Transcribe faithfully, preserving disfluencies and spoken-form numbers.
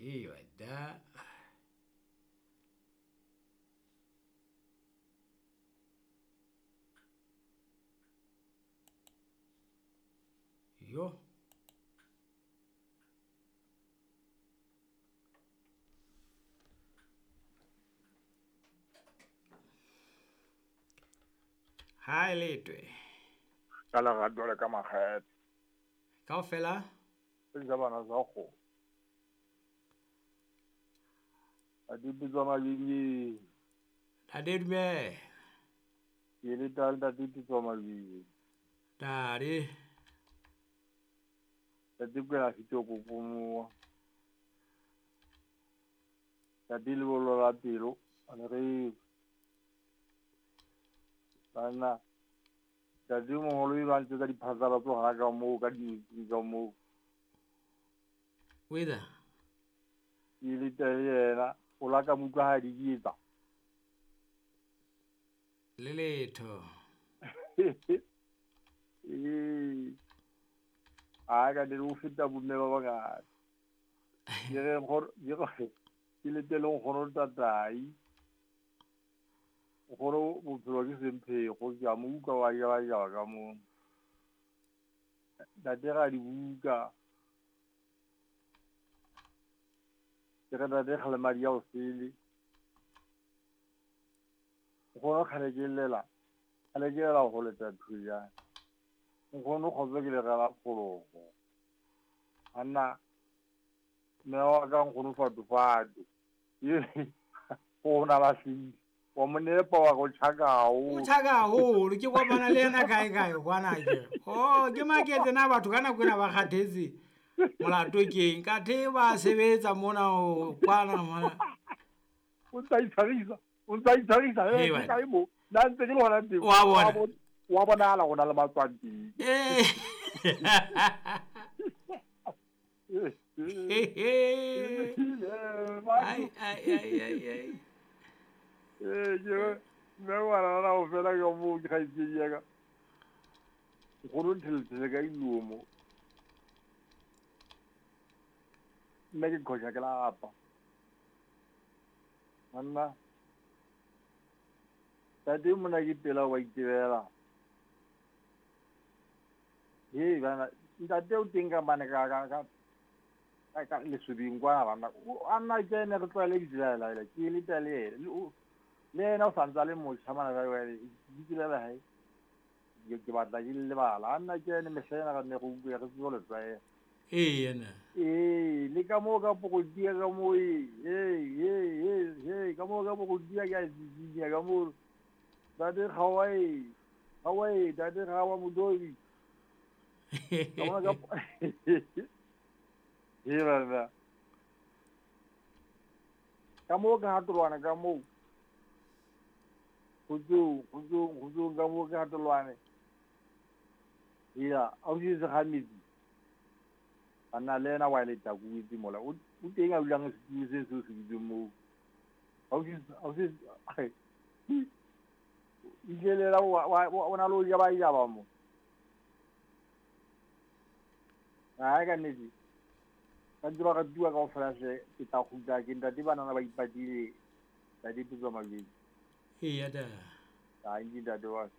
See like that. Yo. Hi Letwe. Ka lerato le ka makgethe. Kaofela? Tsa bana tsa kgo. A di bitswa mabidi. Ntate dumela. Ke le tla ntate bitswa mabidi. Ntate. Ntate kwela fito kokomoa. Ntate le bolo la pelo, a le re bana ntate moholo e ba ntse ka diphatlalatso hana ka moo ka di ka moo. Wether. Ke le teng yena o la ka mo utlwa ha di etsa. Le letho. Ee. A ka di o feta bomme ba bangata. Ke re nkgono ke ke le teng nkgono tatai. Nkgono bophelo ke semphego ke a mo utlwa wa jaba jaba ka moo. Ntate ga di buka. Ke re ntate kgale madi a o sele. Nkgono kgale ke llela. Kgale ke lela go leta thujana. Nkgono kgotsa ke legela phologo. Anna mme wa ka nkgono fatofate. Go na ba hlile. Wa mo nepa wa go tjhaka haholo. O tjhaka haholo ke kopana le yena kae kae kwana ke. Oh ke maketse na batho ka nako ena ba kgathetse. Molato keng kathe ba sebetsa mona o kwana mona. O ntsa itshwarisa, o ntsa itshwarisa Hey, ke kae mo. Nna ntse ke le hona teng. Wa bona. Wa bonahala go na le matswang teng. Eh. Ai ai ai ai ai. Eh ke mme wa rara o fela ka moo ke kgaitsedi ya ka. Nkgono nthelethele ka ilomo. Nna ke qhosha ke lapa. Monna. Ntate mona ke pela wa itebela. Hei bana ntate o teng ka mane ka ka ka ka ka lesubing kwana bana. A nna ke ene re tlwaele ditsela la ke le tale le yena o santse a le motjha mana jwale ditsela la hae ke ke batla ke lebala. A nna ke ene mehla ena re ne re utlwe re tsebe le tlwaela. Ee yena. Ee le ka moo ka pokodia ka moo ee ee ee ee ka moo ka pokodia ke a tsitsinya ka moo. Ntate Kgawa e Kgawa e ntate Kgawa Modobi. Ka mona ka Ee bana. Ka moo ka hatolwana ka moo. Kgotsong kgotsong kgotsong ka moo ka hatolwane. Eya ausi se kgametsi. Banna le yena wa leta kuetse mola. O teng a dulang setulo se seo se dutseng moo. Ausi ausi ijelela wa o na le ho jaba jaba mo. Hai ka nnete. Ba ntse ba ratuwa kaofela hle ke tla kgutla ke ntate banana ba ipatile ntate Pitso Mabedi. Eya da. Tanki ntate wa.